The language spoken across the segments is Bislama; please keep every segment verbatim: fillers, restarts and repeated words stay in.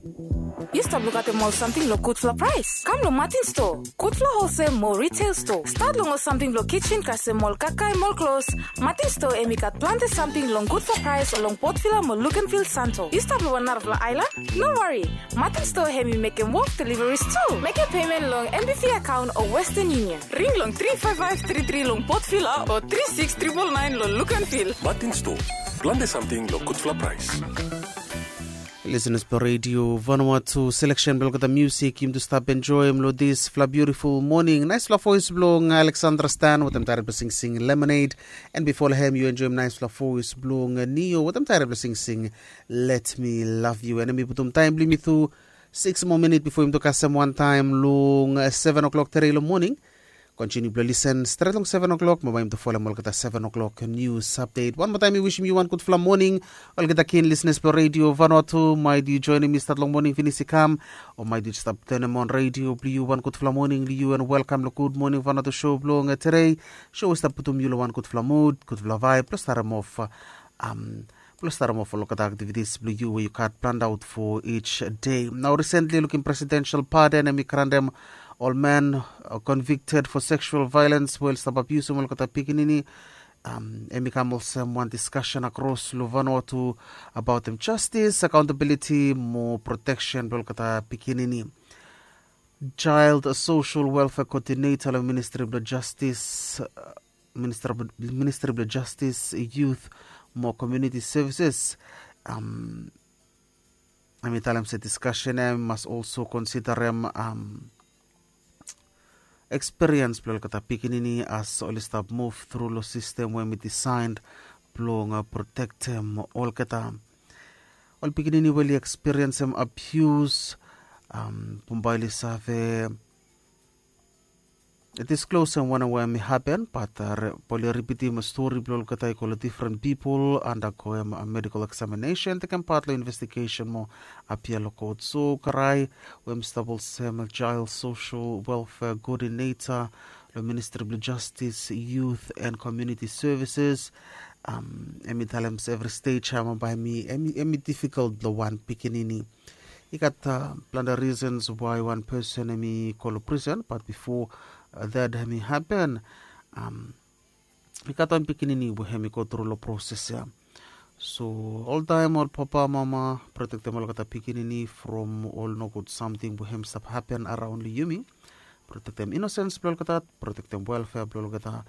Yu stap lukaotem ol samting long gudfala praes? Kam long Martin Store, gudfala holsel mo retail store. Stat long ol samting blong kitchen kasem ol kakae mo ol klos. Martin Store em i gat plante samting long gudfala praes long Port Vila mo Luganville, Santo. Yu stap long wan narafala aelan? No wari. Martin Store hem i mekem wok deliveries tu. Mekem payment long N B V account o Western Union. Ring long three five five three three long Port Vila o three six triple nine long Luganville. Martin Store, plante samting long gudfala praes. Listeners blong Radio Vanuatu, selection blong olgeta musik yumi tu stap enjoyim long disfala beautiful morning. Naisfala voice blong Alexandra Stan wetem taet blong singsing Lemonade. And before long hem yu enjoyim naisfala voice blong Neo wetem taet blong singsing Let Me Love You. And mi putum taem blong yumi tu six more minute before yumi tu kasem wan taem long seven o'clock today long morning. Kontiniu blong lisen stret long seven o'clock mo bae yumi tu folem olgeta seven o'clock news update. Wan moa taem mi wisim yu wan gudfala morning. Olgeta kin listeners blong Radio Vanuatu, maet yu joinim mi stat long morning finis i kam, o maet yu stap tenem on radio blong yu. Wan gudfala morning long yu and welkam long Good Morning Vanuatu show blong today. Show i stap putum yu long wan gudfala mood, gudfala vibe blong starem of um, blong starem of olgeta aktivitis blong yu we yu gat planned out for each day. Nao recently lukim presidential pardon em i grantem ol man convicted for sexual violence we oli stap abiusim olgeta pikinini. Um, em i kam olsem wan discussion across long Vanuatu abaotem justice, accountability mo protection blong olgeta pikinini. Child Social Welfare Coordinator long Ministry blong Justice, Ministri blong Justice, Youth mo Community Services. Hem i talem se diskasen ya i mas olso konsidarem ekspiriens blong olgeta pikinini as oli stap muv tru long sistem we hem i disaen blong protektem olgeta. Ol pikinini we oli ekspiriensem abius, bambae oli save disklosem wanem we hem i hapen, bat oli ripitim stori blong olgeta i go long difren pipol, andagoem medikol eksaminesen, tekem pat long investigesen mo apia long kot. So Karae we hem i stap olsem Child Social Welfare Coordinator long Ministri blong Jastis, Youth and Community Services, hem i talem se evri stej ya bambae hem i difikol blong wan pikinini. I gat plante risens wae wan pesen hem i go long prisen, bat bifo dat hem i hapen, i gat wan pikinini we hem i go tru long proses ya. So oltaem ol papa, mama, protektem olgeta pikinini from ol nogud samting we hem i stap hapen araon long yumi. Protektem inosens blong olgeta, protektem welfea blong olgeta,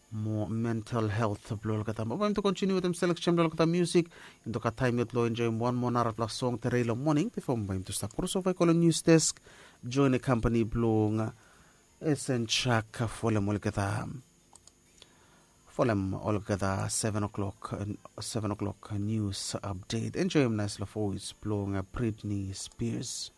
mo mental helt blong olgeta. Bambae yumi tu kontiniu wetem seleksen blong olgeta musik. Yumi tu gat taem yet long enjoem wan moa narafala song tede long moning bifo bambae yumi tu stap krosova i go long nius desk, joen kampani blong Esen Chak folem olgeta, folem olgeta seven o'clock, seven o'clock nius apdet. Enjoem naesfala voes blong Britney Spears.